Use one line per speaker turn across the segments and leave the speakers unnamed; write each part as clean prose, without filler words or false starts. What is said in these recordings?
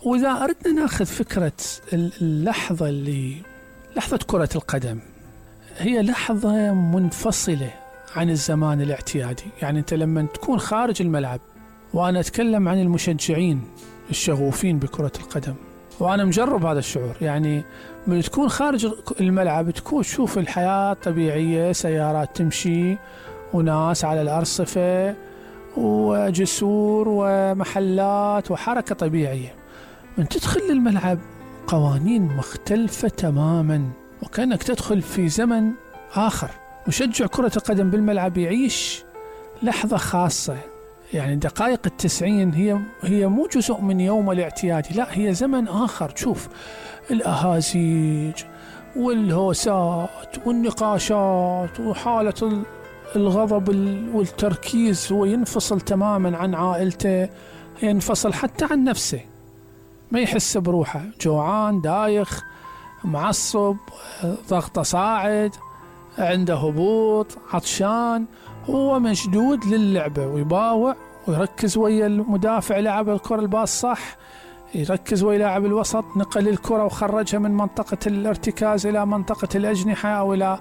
وإذا أردنا ناخذ فكرة لحظة كرة القدم، هي لحظة منفصلة عن الزمان الاعتيادي. يعني أنت لما تكون خارج الملعب، وأنا أتكلم عن المشجعين الشغوفين بكرة القدم، وأنا مجرب هذا الشعور. يعني من تكون خارج الملعب تكون تشوف الحياة طبيعية، سيارات تمشي وناس على الأرصفة وجسور ومحلات وحركة طبيعية. من تدخل للملعب قوانين مختلفة تماما، وكأنك تدخل في زمن آخر. مشجع كرة القدم بالملعب يعيش لحظة خاصة. يعني دقائق 90 هي مو جزء من يوم الاعتيادي، لا، هي زمن آخر. تشوف الأهازيج والهوسات والنقاشات وحالة الغضب والتركيز. هو ينفصل تماما عن عائلته، ينفصل حتى عن نفسه، ما يحس بروحه، جوعان، دايخ، معصب، ضغطه صاعد، عنده هبوط، عطشان. هو مشدود للعبة ويباوع ويركز ويا المدافع، لعب الكرة الباص صح، يركز ويا لاعب الوسط، نقل الكرة وخرجها من منطقة الارتكاز إلى منطقة الأجنحة أو إلى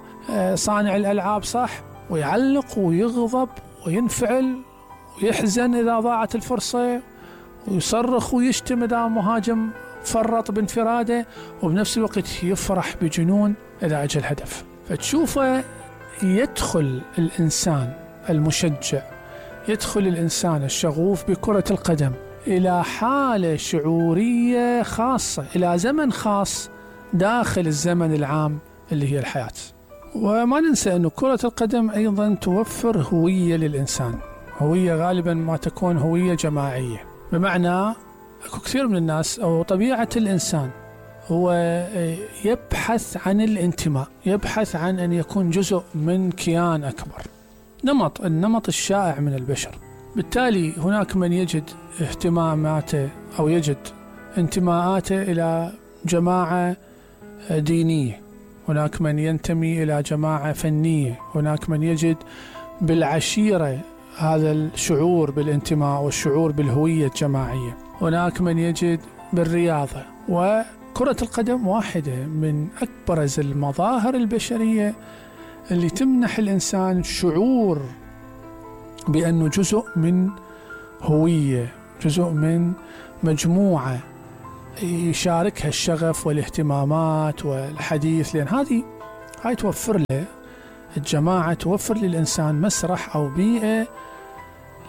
صانع الألعاب صح، ويعلق ويغضب وينفعل ويحزن إذا ضاعت الفرصة، ويصرخ ويشتم إذا مهاجم فرط بانفراده، وبنفس الوقت يفرح بجنون إذا أجى الهدف. فتشوفه يدخل الإنسان المشجع، يدخل الإنسان الشغوف بكرة القدم إلى حالة شعورية خاصة، إلى زمن خاص داخل الزمن العام اللي هي الحياة. وما ننسى أن كرة القدم أيضا توفر هوية للإنسان، هوية غالبا ما تكون هوية جماعية. بمعنى أكو كثير من الناس أو طبيعة الإنسان هو يبحث عن الانتماء، يبحث عن أن يكون جزء من كيان أكبر، النمط الشائع من البشر. بالتالي هناك من يجد اهتماماته أو يجد انتماءاته إلى جماعة دينية، هناك من ينتمي إلى جماعة فنية، هناك من يجد بالعشيرة هذا الشعور بالانتماء والشعور بالهوية الجماعية، هناك من يجد بالرياضة. وكرة القدم واحدة من أكبرز المظاهر البشرية اللي تمنح الإنسان شعور بأنه جزء من هوية، جزء من مجموعة يشاركها الشغف والاهتمامات والحديث. لأن هاي توفر له الجماعة، توفر للإنسان مسرح أو بيئة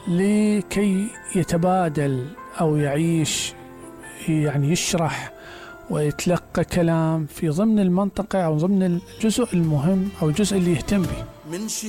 لكي يتبادل أو يعيش، يعني يشرح ويتلقى كلام في ضمن المنطقة أو ضمن الجزء المهم أو الجزء اللي يهتم به.